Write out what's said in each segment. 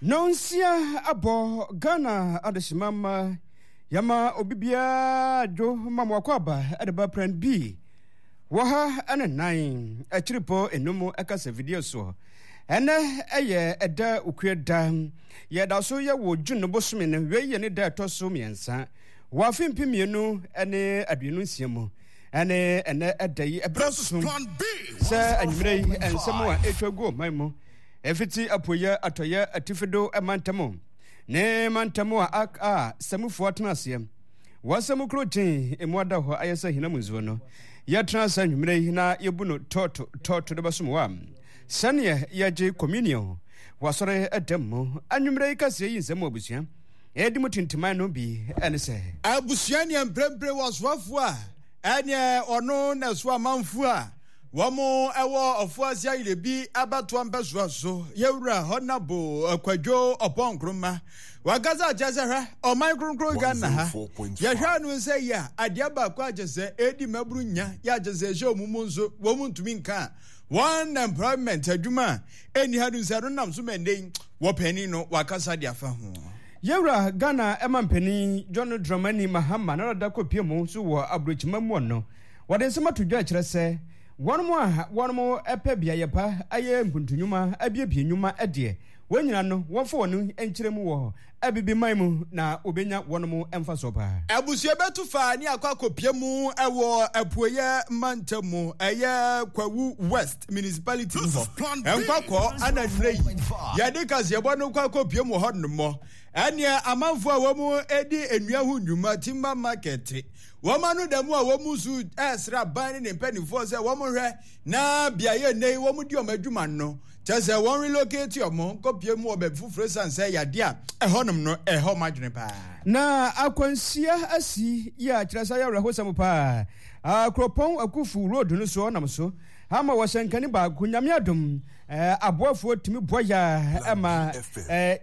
Nonsia abɔ Ghana adehyema mma yɛma obi biara dwo ma mo akwaaba de ba prɛn bi wɔ ha ne nan akyiripɔ enum ɛkasa video soɔ. Ɛnɛ ɛyɛ ɛda okua da. Yɛda so yɛ wɔ June no bosome no wei yɛ ne da ɛtɔ so mmiɛnsa wɔ afe 2026 mu. Ɛne ɛnɛ ɛda yi ɛberɛ so sɛ anwummerɛ yi nsɛm a ɛtwa gu ɔman mu ɛfiti apueɛ atɔeɛ atifido mantam ne mantam a a samufoɔ atena aseɛ wɔasɛm kuro kyen emu ada hɔ ayɛ sɛ hinam nsuo no yɛtena ase anwummerɛ yi na yɛbu no tɔɔto tɔɔto de bɛsom wɔ a sɛneɛ yɛgye communion wɔasɔre ɛdam mu anwummerɛ yi kaseɛ yi nsɛm mu abusua ɛdi mu tintiman no bi ɛne sɛ. Abusua neɛ mprempre wɔ soafoɔ a ɛneɛ ɔno na ɛso amanfoɔ a wɔn ɛwɔ Ɔfoase Ayirebi abatoɔ mpɛsoa so yɛwura Hɔnabo Kwadwo Ɔpɔn Nkrumah wakasa akyerɛ sɛ hwɛ ɔman kronkron Ghana ha yɛhwɛ ano sɛ yi a adeɛ baako akyɛ sɛ ɛdi mmabunu nya yɛ akyɛ sɛ ɛhyɛ wɔn mu nso wɔn ntumi nka a wɔn employment adwuma a ɛnni ha no sɛ no nam so ma ɛnnɛ yi wɔpanin no wakasa de afa ho. Yɛwura Ghana mampanin John Dramani Mahama na dada kɔpie mu nso wɔ aburokyima mu no, wɔde nsɛm ato dwa kyerɛ sɛ wɔn a wɔn pɛ beaeɛ pa ayɛ mpuntunwuma abiebie nnwuma deɛ wɔn nyinaa no wɔmfa wɔn nkyerɛ mu wɔ Abibiman mu na wɔbɛnya wɔn mfasoɔ paa. Abusua bɛtu fa ne akɔ akɔpia mu wɔ apueɛ mantam mu, ɛyɛ Kwawu West Municipality mu hɔ. Nkɔkɔ ana nnɛ yi yɛde kaseɛbɔ no kɔ akɔpia mu hɔ nom. Ɛneɛ amanfoɔ a wɔn di nnua ho nnwuma, timber market, wɔn ano da mu a wɔn nso ɛresrɛ aban ne ne mpanimfoɔ sɛ wɔn hwɛ na beaeɛ nnɛ yi wɔn di wɔn adwuma no kyɛ sɛ wɔn relocate wɔn nkɔpie mu wɔ baabi foforɔ esiane sɛ yadeɛ a ɛhɔnom no ɛhɔ wɔn adwene paa. Na akwanhyia asi yi a kyerɛ sɛ ayɛ awerɛhosɛm paa. Kuropɔn Akufu road no so ɔnam so ama wɔ hyɛnkani baako Nyame adom aboafoɔ tumi boa yɛ ɛma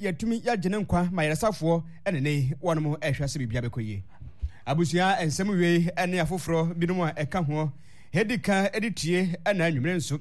yɛtumi yɛagye ne nkwa ma yaresafoɔ ɛne ne wɔnom ɛhwɛ sɛ biribia bɛkɔ yie. Abusua nsɛm wei ne afoforɔ binom a ɛka ho ɛdi ka ɛde tie ɛna anwummere nso.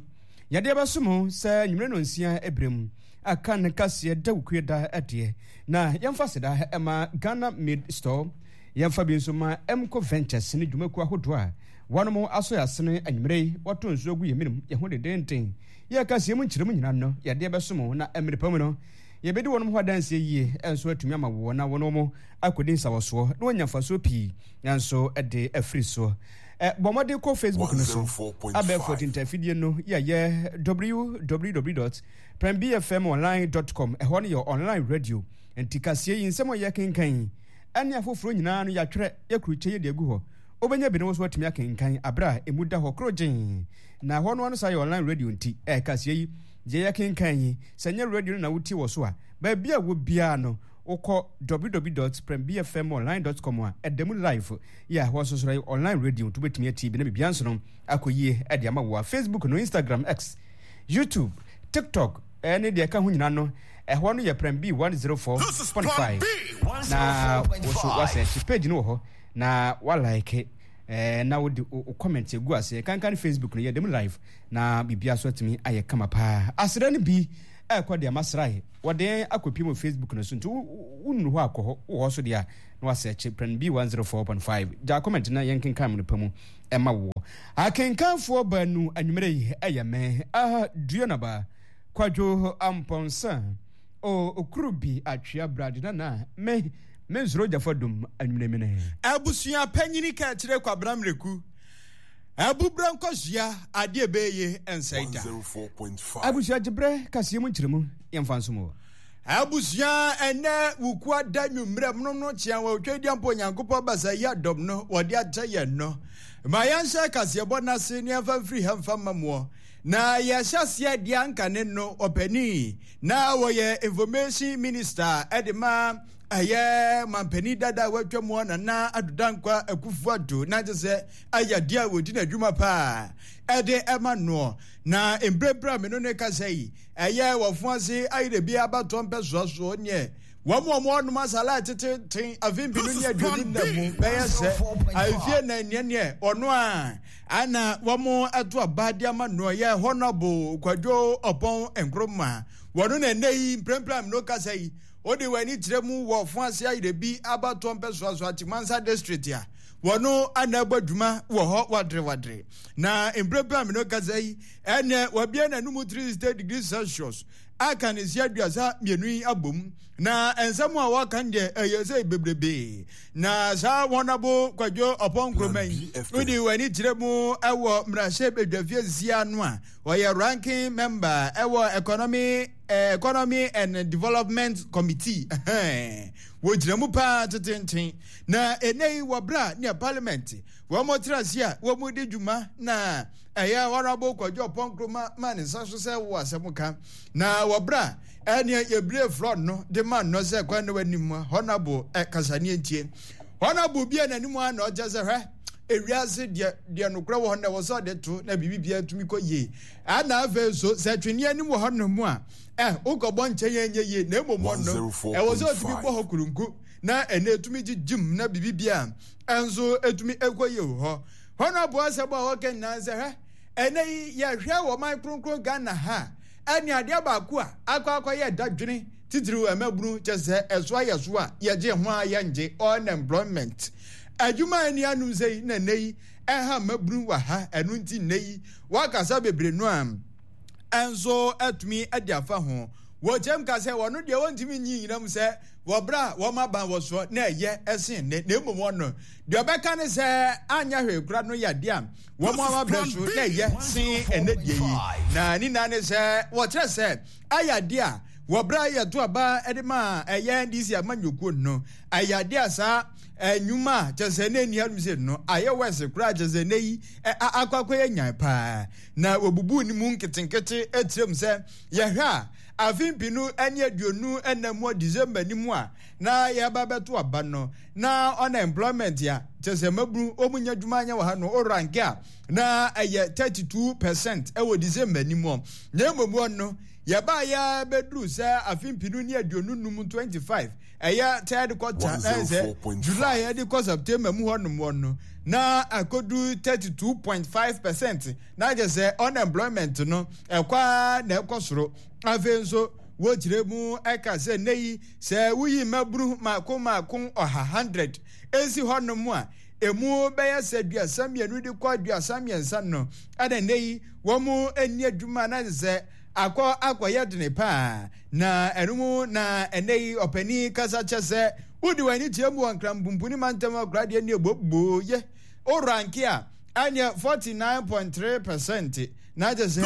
Yɛde bɛsom ho sɛ anwummere nnɔnsia berɛ mu aka ne kaseɛ dawukue da deɛ, na yɛmfa aseda ma Ghana Made Store, yɛmfa bi nso ma Emco Ventures ne dwumakuo ahodoɔ a wɔnom asɔ yɛn asene anwummere yi, wɔto nsuo gu yɛn menem, yɛn ho dendeenden. Yɛn kaseɛ mu nkyerɛmu nyinaa no, yɛde bɛsom wo, na mmerɛ pa mu no, yɛbɛdi wɔnom ho adanseɛ yie nso atumi ama woɔ na wɔnom akɔdi nsawɔsoɔ na wɔanya mfasoɔ pii nso de afiri soɔ. Bɔ mmɔden kɔ Facebook no so, abɛɛfo atintafidie no yɛyɛ www.prembfmonline.com. Ɛhɔ no yɛ online radio. Nti kaseɛ yi, nsɛm a yɛkenkan yi, ɛne afoforɔ nyinaa no yɛatwerɛ, yɛkurukyɛ yɛde agu hɔ. Wobɛnya bi na wo nso watumi akenkan aberɛ a ɛmu da hɔ korogyenn. Na ɛhɔ no ano saa yɛ online radio nti, kaseɛ yi, deɛ yɛkenkan yi, sɛ nyɛ radio no na wotie wɔ so a, baabi a wɔ biara no, wokɔ www.prembfmonline.com a, ɛda mu live. Yɛ a wɔsosora yi online radio nti wobɛtumi atie bi na biribiara nso no akɔ yie de ama wo a Facebook no, Instagram, X, YouTube, TikTok ɛne deɛ ɛka ho nyinaa no ɛhɔ no yɛ Prem B 104.5 na wo so wasɛkye page no wɔ hɔ na walike eh, na wode wo comment agu aseɛ kankan Facebook no yɛ dɛm live na biribiara so atumi ayɛ kama paa aseda no bi ɛkɔ deɛ masrae wɔde akɔpie mu Facebook no so nti wonnu hɔ akɔ hɔ wɔ hɔ so deɛ a na wasɛkye prɛn B 104.5 gya comment na yɛnkenkan mu no pa mu ɛma woɔ. Akenkanfoɔ baanu anwummerɛ yi ɛyɛ me aha Duanaba Kwadwo Ampɔnsa o okuru bi atwea brade nana me me nsoro gyafa dum anwummerɛ mene. Abusua panyini ka kyerɛ Kwabena Mreku, Abubrɛ nkɔsoa adeɛ ɛbɛyɛ nsɛe da. Abusua gyebrɛ kaseɛ mu nkyerɛmu yɛmfa nsom wɔ. Abusua, ɛnnɛ Wukua da nwummerɛ mono no kyea wɔ Tweduampo Onyankopɔn basa yi adɔm no wɔde akyɛ yɛn no. Ma yɛnhyɛ kaseɛbɔ no ase ne yɛmfa mfiri ha mfa mma moɔ. Na yɛhyɛ aseɛ deɛ anka ne no ɔpanin na wɔyɛ Information Minister ɛde ma ɛyɛ mampanin dada a watwa mu Nana Addo Dankwa Akufo-Addo na kyɛ sɛ ayɛ adeɛ a wɔdi n'adwuma paa ɛde ɛma noɔ. Na mprempren a me no ne kasa yi ɛyɛ wɔfo ase ayerɛ bi abatoɔ mpɛsoa soɔ neɛ. Wɔn a wɔnom asala teteten afe 2024 mu bɛyɛ sɛ afie na neɛ ɔno a ana wɔn ato aba de ama no yɛ Honorable Kwadwo Ɔpɔn Nkrumah. Wɔno na ɛnɛ yi mprempren no kasa yi wode w'ani kyerɛ mu wɔ Ɔfo ase Ayerɛbi abatoɔ mpɛsoaso Atimansa district a wɔno ana ɛbɔ adwuma wɔ hɔ wadere. Na mprempren no kasa yi ɛnɛ wabie n'anum 360 degrees Celsius aka ne nse 32 yi abom na nsɛm a wɔka no deɛ ɛyɛ sɛ bebrebe na saa wɔnabo Kwadwo Ɔpɔn Nkrumah yi wode w'ani kyerɛ mu ɛwɔ mmarahyɛ badwafie nsia no a ɔyɛ ranking member ɛwɔ economy and development committee. Wɔgyina mu paa tetenten na ɛnɛ yi wɔ berɛ a ne parliament wɔn tena ase a wɔn di dwuma na ɛyɛ Honorable Kwadwo Ɔpɔn Nkrumah ma ne nsa so sɛ wɔ asɛm ka na wɔ berɛ a ɛneɛ yɛbire floor no de ma no sɛ kwan na w'anim Honorable kasaneɛ ntie Honorable bi a n'anim a na ɔkyɛ sɛ hwɛ ewiase deɛ nokorɛ wɔ hɔ na ɛwɔ sɛ ɔde to na biribi biara tumi kɔ yie ɛna afei nso sɛ tweneɛ anim wɔ hɔ no mu a wokɔbɔ nkyɛn ɛnyɛ yie na mmom ɔno ɛwɔ sɛ ɔtumi bɔ hɔ kurunku na ɛna ɛtumi gyegyim na biribi biara ɛnso ɛtumi ɛkɔ yie wɔ hɔ. Honorable asɛm a wɔka nyinaa sɛ hwɛ ɛnɛ yi yɛhwɛ wɔ man kronkron Ghana ha ɛne adeɛ baako a akɔ akɔyɛ dadwene titiriw ɛmabunu kyɛ sɛ ɛso ayɛ so a yɛgye ho a yɛngye unemployment adwuma a ɛni anom sɛ yi na ɛnɛ yi ɛha mmabunu wɔ ha ɛno nti nnɛ yi wakasa bebree no a ɛnso atumi de afa ho wɔkyɛm ka sɛ wɔno deɛ wɔntumi nyi nyina mu sɛ wɔbrɛ a wɔn aban wɔ soɔ na ɛyɛ ɛsen ne na mmom wɔno deɛ ɔbɛka ne sɛ anyɛ hwee kora no yɛ adeɛ a wɔn ama brɛ so na ɛyɛ sen ɛnɛ deɛ yi na ne nyinaa ne sɛ wɔkyerɛ sɛ ayɛ adeɛ a wɔbrɛ a yɛto aba de ma ɛyɛ NDC amanyɔkuo no ayɛ adeɛ a saa nnwuma a kyɛ sɛ na ɛni hanom sɛ no ayɛ wɛse koraa kyɛ sɛ nɛ yi akɔ akɔyɛ nyan paa na wɔbubu ne mu nketenkete kyerɛ mu sɛ yɛhwɛ a afe 2024 mu December ni mu a na yɛba bɛto aba no na unemployment a kyɛ sɛ mabunu wɔn nya adwuma anyɛ wɔ ha no o rank a na ɛyɛ 32% ɛwɔ December ni mu na mmom wɔn no yɛbaa yɛ bɛduru sɛ afe 2025 25 ɛyɛ third quarter na ɛsɛ July ɛde kɔ September mu hɔ nom wɔn no na akɔdu 32.5% na kyɛ sɛ unemployment no ɛkɔ ara na ɛkɔ soro. Afei nso wɔkyerɛ mu ɛka sɛ nnɛ yi sɛ woyi mmabunu mako mako 100 100 esi hɔ nom a emu bɛyɛ sɛ 32 de kɔ 33 no ɛna nnɛ yi wɔn nni adwuma na sɛ akɔ akɔyɛ dene paa na ɛno mu na ɛnɛ yi ɔpanin kasa kyɛ sɛ wodi wɔn ani kyerɛ mu wɔ Nkrampumpuni mantam akoradeɛ ne ɛbɔbɔ yɛ oranke a ɛneɛ 49.3% na kyɛ sɛ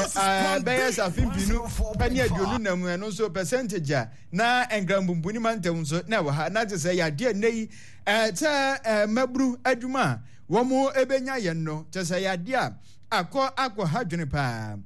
ɛbɛyɛ sɛ afe 2024 ɛno nso percentage a na Nkrampumpuni mantam nso na ɛwɔ ha na kyɛ sɛ yadeɛ nnɛ yi sɛ mmabunu adwuma a wɔn ɛbɛnya yɛn no kyɛ sɛ yadeɛ a akɔ akɔ ha dwene paa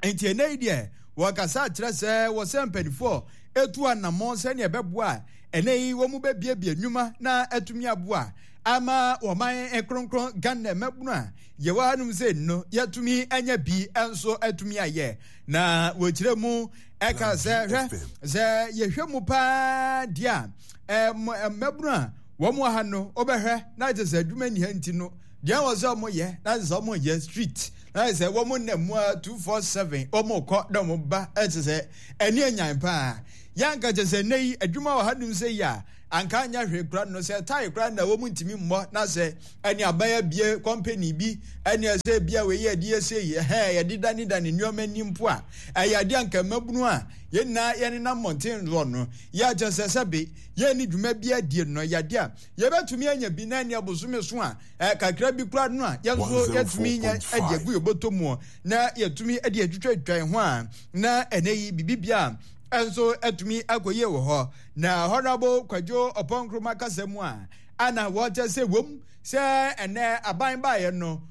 nti ɛnɛ yi deɛ wɔkasa kyerɛ sɛ wɔsɛ mpanimfoɔ etu anammɔn sɛnea ɛbɛboa ɛnɛ yi wɔn bɛbiebie nnwuma na atumi aboa ama wɔman kronkron Ghana mmabunu a yɛwɔ hanom sɛ no yɛatumi anya bi nso atumi ayɛ na wɔkyerɛ mu ɛka sɛ hwɛ sɛ yɛhwɛ mu paa deɛ a mmabunu a wɔn wɔ ha no wobɛhwɛ na kyerɛ sɛ adwuma nni ha nti no deɛ wɔ sɛ wɔn yɛ na kyerɛ sɛ wɔn yɛ street na kyerɛ sɛ wɔn nam mu a 247 wɔn kɔ na wɔn ba kyerɛ sɛ ɛne anyan paa yɛanka kyerɛ sɛ nnɛ yi adwuma wɔ hanom sɛ yi a anka anyɛ hwee koraa no sɛ tae koraa na wɔn ntumi mmɔ na sɛ ɛne aban abie kɔmpani bi ɛne ɛsɛ bia wei yɛ de ɛsɛ yi ɛhɛn yɛde dane dane nneɛma ni mpo a ɛyɛ adeɛ anka mmabunu a yɛn nyinaa yɛnenam mmɔnten soɔ no yɛ akyɛ sɛ sɛbe yɛn dwuma bi adie no yɛ adeɛ a yɛbɛtumi anya bi na ɛne abosome so a kakra bi koraa no a yɛn nso yɛtumi nya de agu yɛn bɔtɔ mu na yɛtumi de atwitwatwa yɛn ho a na ɛnɛ yi biribi bia nso atumi akɔyie wɔ hɔ. Na Honorable Kwadwo Ɔpɔn Nkrumah kasa mu a ana wɔkyɛ sɛ wom sɛ ɛnɛ aban baeɛ no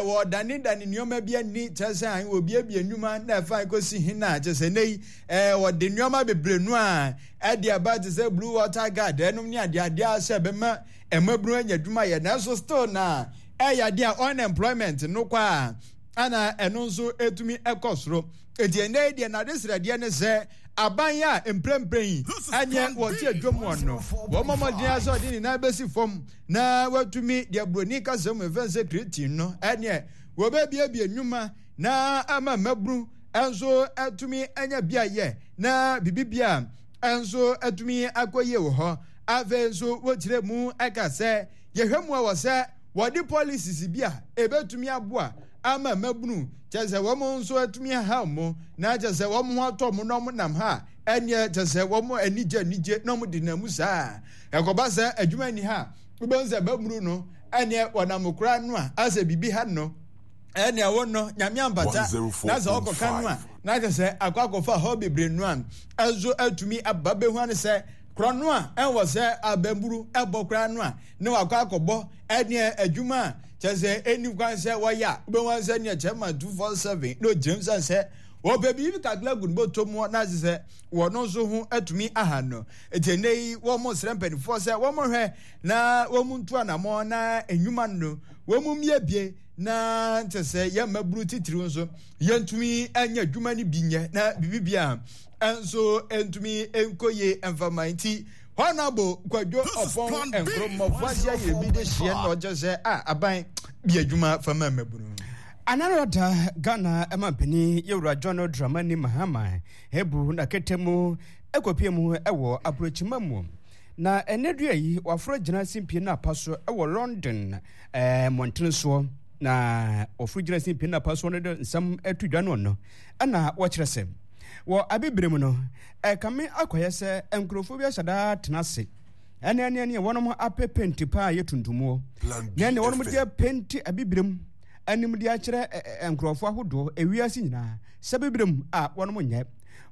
wɔdanedane nneɛma bi ani kyerɛ sɛ an wɔbiebie nnwuma na ɛfa kɔsi he na kyerɛ sɛ nnɛ yi wɔde nneɛma bebree no a ɛde aba te sɛ Blue Water Guard ɛnom ne adeadeɛ a sɛ ɛbɛma mmabunu anya adwuma yɛ nanso still na ɛyɛ adeɛ a unemployment no kɔ a ana ɛno nso ɛtumi ɛkɔ soro. Enti ɛnnɛ yi deɛ n'adesrɛdeɛ ne sɛ aban a mprempren yi ɛneɛ wɔte adwam wɔn no, wɔmmɔ mmɔden ara sɛ ɔde ne nan bɛsi fam na watumi deɛ buroni kasa mu ɛfɛn sɛ creatine no, ɛneɛ wɔbɛbiebie nnwuma na ama mmabunu nso atumi anya bi ayɛ na biribi a nso atumi akɔ yie wɔ hɔ. Afei nso wɔkyerɛ mu ɛka sɛ yɛhwɛ mu a wɔ sɛ wɔde policies bi a ɛbɛtumi aboa ama mmabunu kyɛ sɛ wɔn nso atumi aha wɔn na kyɛ sɛ wɔn ho atɔ wɔn na wɔn nam ha ɛneɛ kyɛ sɛ wɔn ani gye anigye na wɔn de nam mu saa. Ɛkɔba sɛ adwuma ni ha wobɛhu sɛ mmabunu no ɛneɛ wɔnam koraa no a asɛ biribi ha no ɛnea wo no nyame ampata na sɛ ɔkɔka no a na kyɛ sɛ akɔ akɔfa hɔ bebree no a ɛnso atumi aba bɛhu ane sɛ korɔ no a ɛnwɔ sɛ abamburu ɛbɔ koraa no a na wakɔ akɔbɔ ɛneɛ adwuma a kyɛ sɛ ɛni kwan sɛ wɔyɛ a wobɛhu ane sɛ neɛ kyɛ ma 247 na ɔgyinam sɛ sɛ wɔpɛ biribi kakra gu no bɔtɔ mu na kyɛ sɛ wɔn nso ho atumi aha no. Enti ɛnnɛ yi wɔsrɛ mpanimfoɔ sɛ wɔhwɛ na wɔn ntu anamɔ na nnwuma no wɔn mmiebie na kyɛ sɛ yɛn mmabunu titiriw nso yɛntumi nyɛ adwuma no bi nyɛ na biribi bia nso ntumi nkɔ yie mfama nti Honorable Kwadwo Ɔpɔn Nkrumah ahyia yɛ bi de hyeɛ na ɔkyɛ sɛ a aban bi adwuma fama mmabunu. Anarada Ghana mampanin Yɛwura John Dramani Mahama Ebu na kɛtɛ mu kɔpue mu wɔ aburokyima mu. Na ɛnɛ dua yi, waforo agyina simpie no apa so wɔ London mmɔntene soɔ. Na wɔforo gyina simpie no apa soɔ no de nsɛm to dwa no no, ɛna wɔkyerɛ sɛ wɔ abibire mu no, ɛkame akɔyɛ sɛ nkurɔfoɔ bi ahyɛ daa tena ase ɛne ɛne ɛne wɔnom apɛ penti paa yɛ tuntumoɔ na ɛne wɔnom de penti abibire mu anim de akyerɛ nkurɔfoɔ ahodoɔ ewiase nyinaa sɛ bibire mu a wɔnom nyɛ.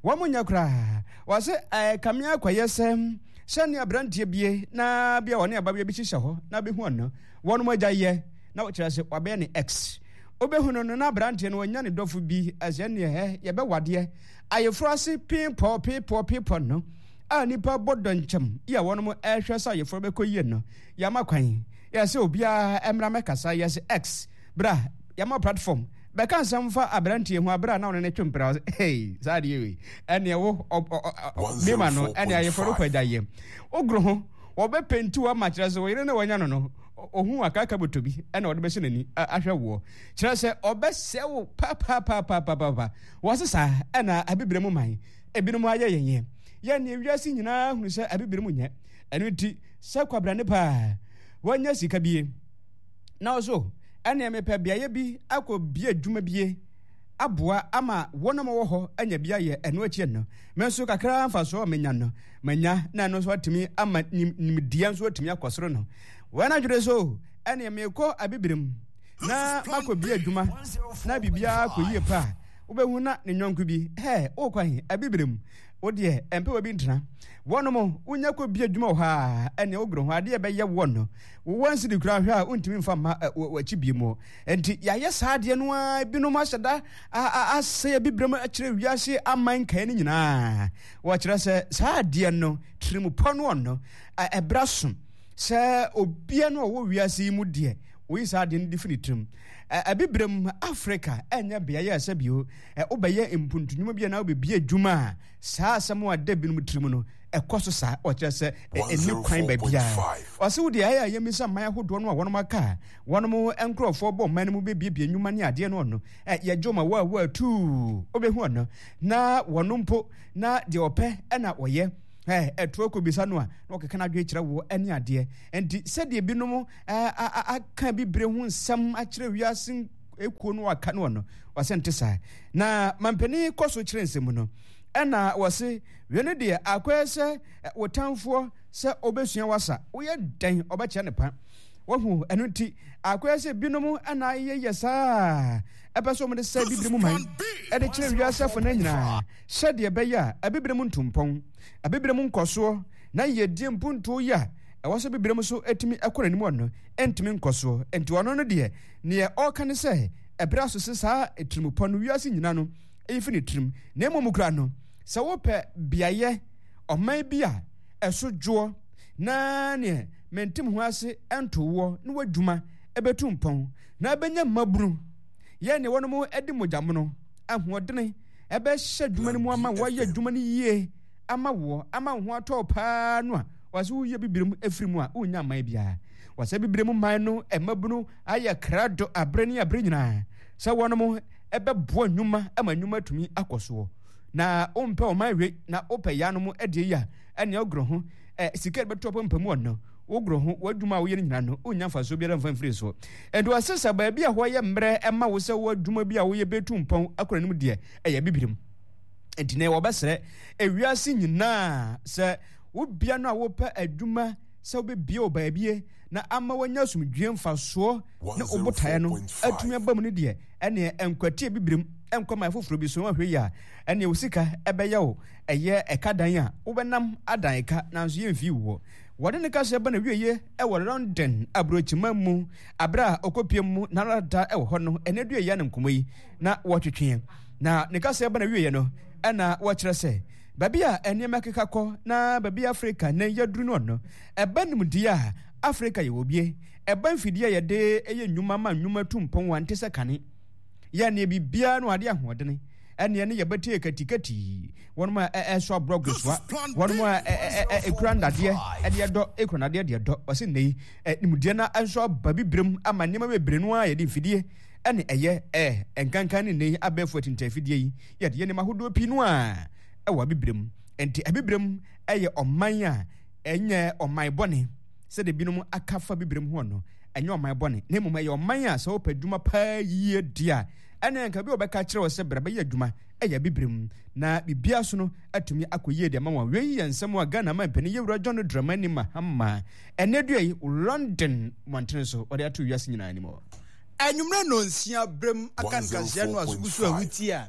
Wɔn nyɛ koraa. Wɔse ɛkame akɔyɛ sɛ sɛnea aberanteɛ bie na bia ɔne ababea bi hyehyɛ hɔ na bɛhu ɔno wɔnom agya yɛ na wɔkyerɛ sɛ wabɛyɛ ne ex. Wobɛhu no no na aberanteɛ no wanya ne dɔfo bi ɛsɛ neɛ hɛ yɛbɛwadeɛ ayeforɔ ase piipɔ piipɔ piipɔ no a nipa bɔ dɔnkyɛm yi a wɔnom ɛhwɛ sɛ ayeforɔ bɛkɔ yie no yɛama kwan yɛsɛ obiara ɛmmra mɛkasa yɛsɛ ex bra yɛama platform bɛka nsɛm fa aberanteɛ ho abere a na ɔne ne twe mpena ɔsɛ hey saa adeɛ wei ɛneɛ wo bema no ɛne ayefo no kɔ agya yɛ wogoro ho wɔbɛpenti wo ama kyerɛ sɛ wo yere ne wanya no no ohun akaka bɔtɔ bi ɛna ɔde bɛhyɛ n'ani ahwɛ woɔ kyerɛ sɛ ɔbɛsɛ wo papapapapaapa wɔse saa ɛna abibire mu man ebinom ayɛ yɛn yɛ yɛn ne wiase nyinaa hunu sɛ abibire mu nyɛ ɛno nti sɛ kwabrane paa wɔanya sika bie Na ɔso, ɛneɛ mepɛ beaeɛ bi akɔ bie adwuma bie aboa ama wɔn a wɔwɔ hɔ anya bi ayɛ, ɛno akyi no, me nso kakra mfasoɔ a menya no, manya, na ɛno nso atumi ama nimdeɛ nso atumi akɔ soro no. Wɔn adwene so, ɛneɛ mekɔ Abibirem na makɔ bie adwuma na biribiara kɔ yie pa a, wobɛhu na ne nyɔnko bi, hɛ, wokɔ he? Abibirem. Wo deɛ, ɛmpɛ wɔ bi ntena. Wɔnom, wonya kɔ bie adwuma wɔ hɔ a, ɛneɛ wogoro ho adeɛ ɛbɛyɛ woɔ no, Wo wansidi koraa hwɛ a wontumi mfa mma w'akyi bio mu. Enti yɛayɛ saa adeɛ no ara, ebinom ahyɛ da asɛe abibirem akyerɛ wiase aman nkaeɛ no nyinaa. Wɔkyerɛ sɛ saa adeɛ no tirimupɔ no ɔno ɛbra so sɛ obia no ɔwɔ wiase yi mu deɛ oyi saa adeɛ no de fi ne tirim. Abibirem Afrika ɛnyɛ beaeɛ a sɛ bio wobɛyɛ mpuntunwuma bi anaa wobɛbie adwuma a saa asɛm a ɛda binom tirim no ɛkɔ so saa. Ɔkyerɛ sɛ ɛnni kwan baabiara. Ɔse wo deɛ ɛyɛ a yɛmmisa mman ahodoɔ no a wɔnom aka a wɔnom nkorɔfoɔ bɔ mman no mu bɛbiebie nnwuma ne adeɛ no ɔno yɛgye ma wo a wo a tuu wobɛhu ɔno na wɔno mpo na deɛ ɔpɛ ɛna ɔyɛ ɛtoɔ kɔbisa no a na ɔkeka no adwene kyerɛ wo ɛne adeɛ. Nti sɛdeɛ binom aka bibire ho nsɛm akyerɛ wiase ekuo no aka no ɔno ɔsɛ nte saa. Na mampanin kɔ so kyerɛ nsɛm no ɛna wɔse wei no deɛ akɔyɛ sɛ wo tamfoɔ sɛ ɔbɛsua wasa woyɛ dɛn ɔbɛkyerɛ ne pa wahu. Ɛno nti akɔyɛ sɛ binom ɛna ayɛyɛ saa ɛpɛ sɛ wɔde sɛ bibire mu man ɛde kyerɛ wiase afo no nyinaa sɛdeɛ ɛbɛyɛ a abibire mu ntumpɔn, abibire mu nkɔsoɔ na yiedie mpuntuo yi a ɛwɔ sɛ bibire mu so ɛtumi ɛkɔ n'anim ɔno ɛntumi nkɔsoɔ. Nti ɔno no deɛ neɛ ɔreka ne sɛ ɛberɛ aso sɛ saa tirimupɔ no wiase nyina no ɛyi fi ne tirim. Na mmom kura no sɛ wopɛ beaeɛ ɔman bi a ɛso dwoɔ na neɛ mentem ho ase ɛnto woɔ ne w'adwuma ɛbɛtu mpɔn na ɛbɛnya mmabunu yɛ neɛ wɔnom ɛde mogya mono ahoɔdene. ɛbɛhyɛ adwuma no mu ama woayɛ adwuma no yie ama woɔ ama wo ho atɔ wo paa no a, wɔsɛ woyɛ bibire mu ɛfiri mu a, wonnya mman biara. Wɔsɛ bibire mu man no mmabunu ayɛ krado aberɛ ne aberɛ nyinaa sɛ wɔnom ɛbɛboa nnwuma ama nnwuma atumi akɔ soɔ. Na wompɛ ɔman wei na wopɛ yanom deɛ yi a, ɛnea wogorɔ ho ɛ sika de bɛto apampam wɔ no, wogorɔ ho w'adwuma a woyɛ no nyinaa no, wonnya mfasoɔ biara mfa mfiri so. Ɛnti wɔse sɛ baabi a hɔ yɛ mmerɛ ɛma wo sɛ w'adwuma bi a woyɛ bɛtu mpɔn akɔ n'anim deɛ, ɛyɛ Abibirem. Ɛnti nɛ wɔbɛsrɛ ewiase nyinaa sɛ wo bea no a wopɛ adwuma sɛ wobɛbie wɔ baabie na ama wanya asomdwie mfasoɔ ne wo botaeɛ no atumi aba mu no deɛ, ɛneɛ nkwati Abibirem nkɔ man foforɔ bi so na wahwɛ yie a, ɛneɛ wo sika ɛbɛyɛ wo ɛyɛ ɛka dan a wobɛnam adan ɛka nanso yɛmfii wo hɔ. Wɔde ne kasa ba n'awieɛ wɔ London aburokyiman mu aberɛ a ɔkɔpie mu n'arada wɔ hɔ no, ɛnɛ dua yi a na nkɔmmɔ yi na wɔtwetweɛ. Na ne kasa ba n'awieɛ no ɛna wɔkyerɛ sɛ baabi a nneɛma keka kɔ na baabi Afrika nnɛ yɛaduru no no, ɛba nimdeɛ a Afrika yɛwɔ bie, ɛba mfidie a yɛde yɛ nnwuma ma nnwuma tu mpɔn a nte sɛ kane. Yɛ neɛ biribiara no adeɛ ahoɔdene ɛneɛ ne yɛbɛtie katikati wɔnom a ɛso aborɔ gosoa wɔnom a ɛkura nnadeɛ ɛde ɛdɔ ɛkura nnadeɛ de ɛdɔ ɔse nnɛ yi nimdeɛ no nso aba bibirem ama nneɛma bebree no a yɛde mfidie ɛne ɛyɛ ɛ nkankan ne nnɛ yi abɛɛfo atinta afidie yi yɛde yɛ nneɛma ahodoɔ pii no a ɛwɔ abibirem. Nti abibirem ɛyɛ ɔman a ɛnyɛ ɔman bɔne sɛdeɛ binom aka fa bibirem ho no, ɛnyɛ ɔman bɔne, na mmom ɛyɛ ɔman a sɛ wopɛ adwuma paa yie di a, ɛne anka bi a wɔbɛka akyerɛ wo sɛ bra bɛyɛ adwuma ɛyɛ abibirem, na biribiara so no atumi akɔ yie de ama wɔn. Wei yɛ nsɛm a Ghana manpanin Yɛwura John Dramani Mahama ɛnɛ dua yi London mmɔntene so ɔde ato wiase nyinaa anim. Anwummerɛ nnɔnsia berɛm akankanhyia no aso gu so a wotie a,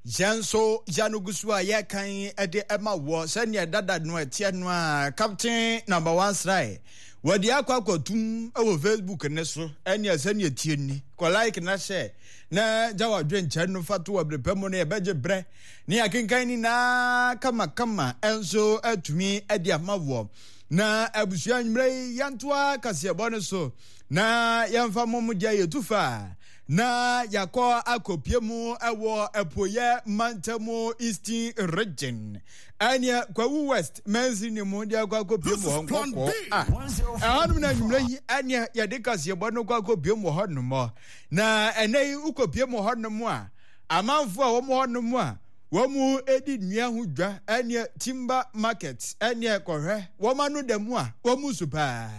Yɛn nso yɛn no gu so a yɛkan de ma wɔ sɛdeɛ dada no ɛteɛ no a Captain Number One Srae wɔde akɔ akɔtum wɔ Facebook ne so ɛneɛ sɛdeɛ tie ni kɔ like na hyɛ na gya wadwenkyɛ no fa to wɔ bere pɛ mu no yɛbɛgye berɛ ne yɛakenkan nyinaa kamakama ɛnso atumi de ama wɔ na abusua nwummerɛ yi yɛntoa kaseɛbɔ no so na yɛmfa mom deɛ yɛtu fa Na yɛakɔ akɔpie mu wɔ Apueɛ mantamu Eastern Region ɛneɛ Kwawu West mansini mu de akɔ akɔpie mu hɔ nkɔkɔɔ a ɛhɔnom na anwummerɛ yi ɛneɛ yɛde kaseɛbɔ no kɔ akɔpie mu hɔnom. Na ɛnɛ yi wokɔpie mu hɔnom a amanfoɔ a wɔn hɔnom a wɔn di nnua ho dwa ɛneɛ timber market ɛneɛ kɔhwɛ wɔn ano da mu a wɔn su paa.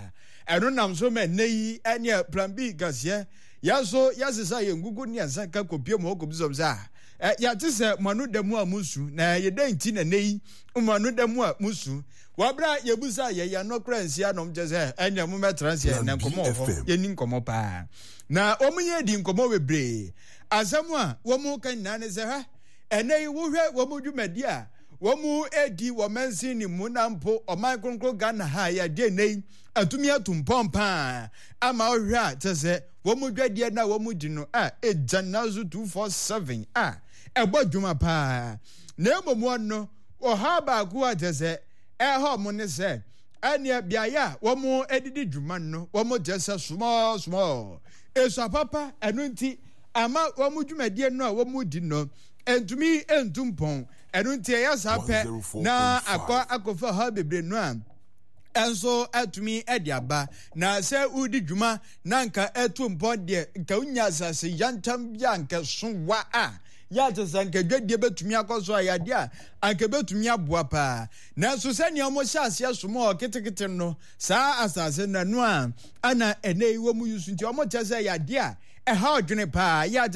Ɛno nam so ma ɛnɛ yi ɛneɛ Plan B kaseɛ Yɛn nso, yɛsesa yɛn nkuku ne yɛn nsa ka kɔpue mu hɔ kɔbisa wɔn sɛ, Ah, yɛate sɛ mo ano da mu a mosu, na ɛyɛ dɛn nti na nnɛ yi mo ano da mu a mosu? Wɔ berɛ a yɛbisaa yɛn, yɛn ano koraa nsi anom, kyerɛ sɛ, ɛnneɛ mommɛtra ase ɛ, na nkɔmmɔ wɔ hɔ, yɛnni nkɔmmɔ paa. Na wɔn yɛ di nkɔmmɔ bebree. Asɛm a wɔka nyinaa ne sɛ, hwɛ, ɛnnɛ yi wohwɛ wɔn dwumadi a wɔredi wɔ mansin no mu na mpo ɔman kronkron Ghana ha a yɛde nnɛ yi atumi atu mpɔn paa ama wohwɛ a kyɛ sɛ wɔn dwadeɛ no a wɔn di no a ɛgya nna so 247 a ɛbɔ dwuma paa na mmom wɔn no ɔhaw baako a kyɛ sɛ ɛha wɔn ne sɛ ɛneɛ beaeɛ a wɔn adidi dwuma no wɔn kyɛ sɛ small small esua papa ɛno nti ama wɔn dwumadie no a wɔn di no ɛntumi ntu mpɔn ɛno nti ɛyɛ saa pɛ na akɔ akɔfa ɔhaw bebree no a nso atumi de aba. Na sɛ wodi dwuma na nka ɛto mpɔn deɛ, nka wonya asase yantam bi a nka so wa a, yɛ ate sɛ nka dwadie bɛtumi akɔ so a yadeɛ a anka bɛtumi aboa paa. Nanso sɛnea wɔhyɛ aseɛ som wɔ ketekete no, saa asase no ɛno a ana ɛnɛ yi wɔn yi so nti wɔkyɛ sɛ yadeɛ a ɛha ɔdwene paa yɛ ate.